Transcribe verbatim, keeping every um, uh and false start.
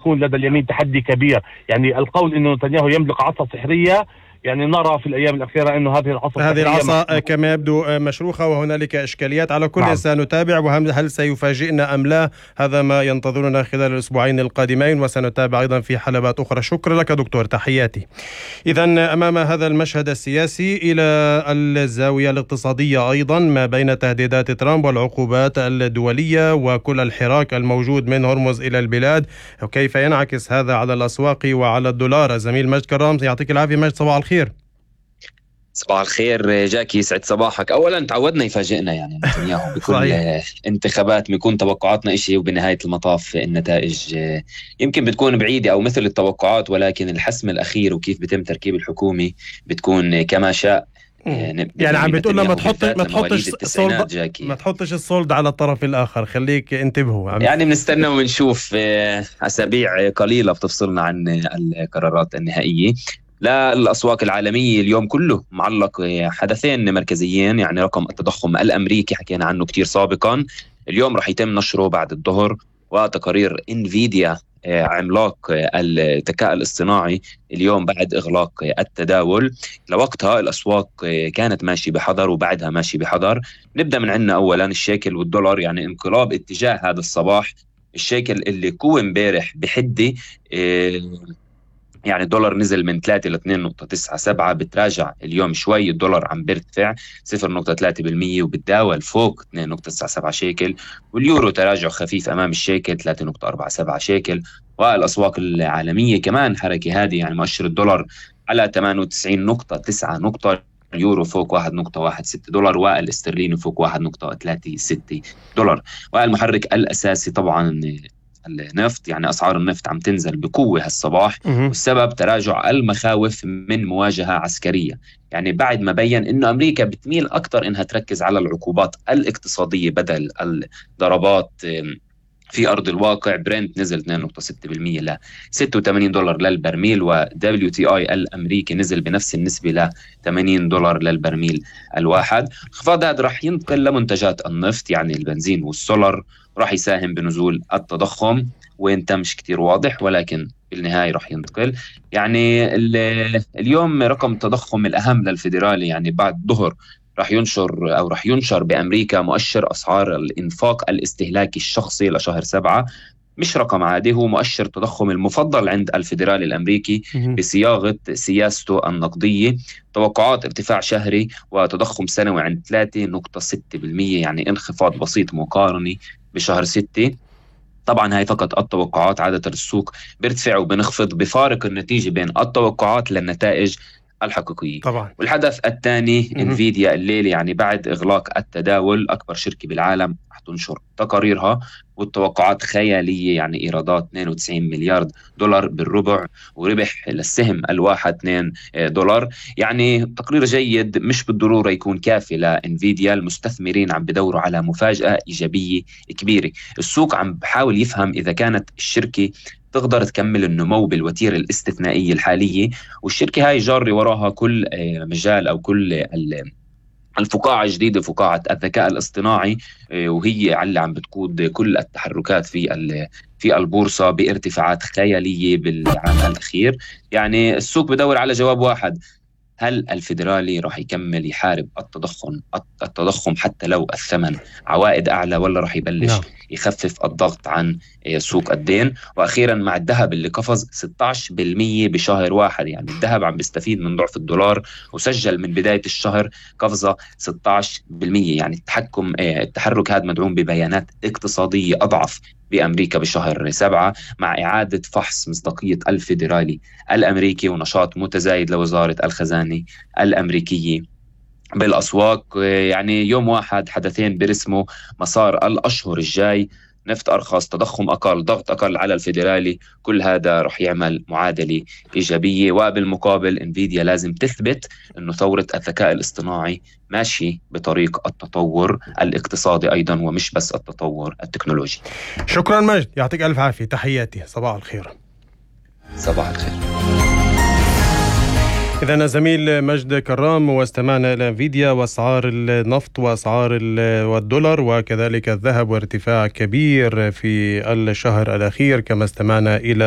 سيكون لدى اليمين تحدي كبير. يعني القول انه نتنياهو يملك عصا سحرية، يعني نرى في الأيام الأخيرة أنه هذه العصا هذه العصا كما يبدو مشروخة وهنالك إشكاليات. على كل نعم. سنتابع، وهل سيفاجئنا أم لا هذا ما ينتظرنا خلال الأسبوعين القادمين، وسنتابع أيضا في حلقات أخرى. شكرا لك دكتور، تحياتي. إذن أمام هذا المشهد السياسي إلى الزاوية الاقتصادية أيضا، ما بين تهديدات ترامب والعقوبات الدولية وكل الحراك الموجود من هرمز إلى البلاد، وكيف ينعكس هذا على الأسواق وعلى الدولار. الزميل مجد كرام، يعطيك العافية مجد، صباح الخير. صباح الخير جاكي، سعد صباحك. أولا تعودنا يفاجئنا يعني نتنياهو بكل انتخابات، بيكون توقعاتنا إشي وبنهاية المطاف النتائج يمكن بتكون بعيدة أو مثل التوقعات، ولكن الحسم الأخير وكيف بيتم تركيب الحكومة بتكون كما شاء. يعني, يعني عم بتقولنا ما تحط ما تحطش الصولد ما تحطش الصولد على الطرف الآخر، خليك انتبهوا. يعني بنستنى ونشوف، أسابيع قليلة بتفصلنا عن القرارات النهائية. لا، الأسواق العالمية اليوم كله معلق حدثين مركزيين، يعني رقم التضخم الأمريكي حكينا عنه كتير سابقا، اليوم رح يتم نشره بعد الظهر، وتقارير انفيديا عملاق الذكاء الاصطناعي اليوم بعد إغلاق التداول. لوقتها الأسواق كانت ماشي بحذر وبعدها ماشي بحذر. نبدأ من عندنا أولا الشيكل والدولار، يعني انقلاب اتجاه هذا الصباح. الشيكل اللي قوى امبارح بحدة، يعني الدولار نزل من ثلاثة ل اثنين نقطة تسعة سبعة، بتراجع اليوم شوي، الدولار عم بيرتفع صفر نقطة ثلاثة بالمية وبتداول فوق اثنين نقطة تسعة سبعة شيكل. واليورو تراجع خفيف أمام الشيكل ثلاثة نقطة أربعة سبعة شيكل. والأسواق العالمية كمان حركة هذه، يعني مؤشر الدولار على ثمانية وتسعين نقطة تسعة نقطة، اليورو فوق واحد نقطة واحد ستة دولار، والاسترليني فوق واحد نقطة ثلاثة ستة دولار. والمحرك الأساسي طبعا النفط، يعني أسعار النفط عم تنزل بقوة هالصباح، والسبب تراجع المخاوف من مواجهة عسكرية. يعني بعد ما بيّن إنه أمريكا بتميل أكتر إنها تركز على العقوبات الاقتصادية بدل الضربات في أرض الواقع، برنت نزل اثنين نقطة ستة بالمية ل ستة وثمانين دولار للبرميل، و دبليو تي آي الأمريكي نزل بنفس النسبة ل ثمانين دولار للبرميل الواحد. انخفاض هذا رح ينتقل لمنتجات النفط، يعني البنزين والسولر، راح يساهم بنزول التضخم، وين تمش كتير واضح، ولكن بالنهاية راح ينتقل. يعني اليوم رقم التضخم الأهم للفيدرالي، يعني بعد ظهر راح ينشر أو راح ينشر بأمريكا مؤشر أسعار الإنفاق الاستهلاكي الشخصي لشهر سبعة. مش رقم عادي، هو مؤشر التضخم المفضل عند الفيدرالي الأمريكي بصياغة سياسته النقدية. توقعات ارتفاع شهري وتضخم سنوي عند ثلاثة نقطة ستة بالمية، يعني انخفاض بسيط مقارنة بشهر ستة. طبعا هاي فقط التوقعات، عادة السوق بيرتفع وبنخفض بفارق النتيجة بين التوقعات للنتائج الحقيقية طبعا. والحدث الثاني انفيديا الليلة، يعني بعد إغلاق التداول، أكبر شركة بالعالم رح تنشر تقاريرها، والتوقعات خيالية، يعني إيرادات اثنين وتسعين مليار دولار بالربع، وربح للسهم الواحد اثنين دولار. يعني تقرير جيد، مش بالضرورة يكون كافي لإنفيديا. المستثمرين عم بدوروا على مفاجأة إيجابية كبيرة. السوق عم بحاول يفهم إذا كانت الشركة تقدر تكمل النمو بالوتيرة الاستثنائية الحالية، والشركة هاي جاري وراها كل مجال أو كل الفقاعة الجديدة، فقاعة الذكاء الاصطناعي، وهي اللي عم بتقود كل التحركات في في البورصة بارتفاعات خيالية بالعام الأخير. يعني السوق بدور على جواب واحد: هل الفيدرالي راح يكمل يحارب التضخم التضخم حتى لو الثمن عوائد أعلى، ولا راح يبلش نعم. يخفف الضغط عن سوق الدين؟ وأخيرا مع الذهب اللي قفز ستة عشر بالمية بشهر واحد، يعني الذهب عم بيستفيد من ضعف الدولار، وسجل من بداية الشهر قفزة ستة عشر بالمية. يعني التحكم التحرك هذا مدعوم ببيانات اقتصادية أضعف بأمريكا بشهر سبعة، مع إعادة فحص مصداقية الفيدرالي الأمريكي ونشاط متزايد لوزارة الخزانة الأمريكية بالأسواق. يعني يوم واحد حدثين برسموا مسار الأشهر الجاي: نفط أرخص، تضخم أقل، ضغط أقل على الفيدرالي. كل هذا رح يعمل معادلة إيجابية. وبالمقابل انفيديا لازم تثبت أنه ثورة الذكاء الاصطناعي ماشي بطريق التطور الاقتصادي أيضا، ومش بس التطور التكنولوجي. شكرا مجد، يعطيك ألف عافية، تحياتي، صباح الخير. صباح الخير. إذن زميل مجد كرام، واستمعنا إلى انفيديا وأسعار النفط وأسعار والدولار وكذلك الذهب وارتفاع كبير في الشهر الأخير، كما استمعنا إلى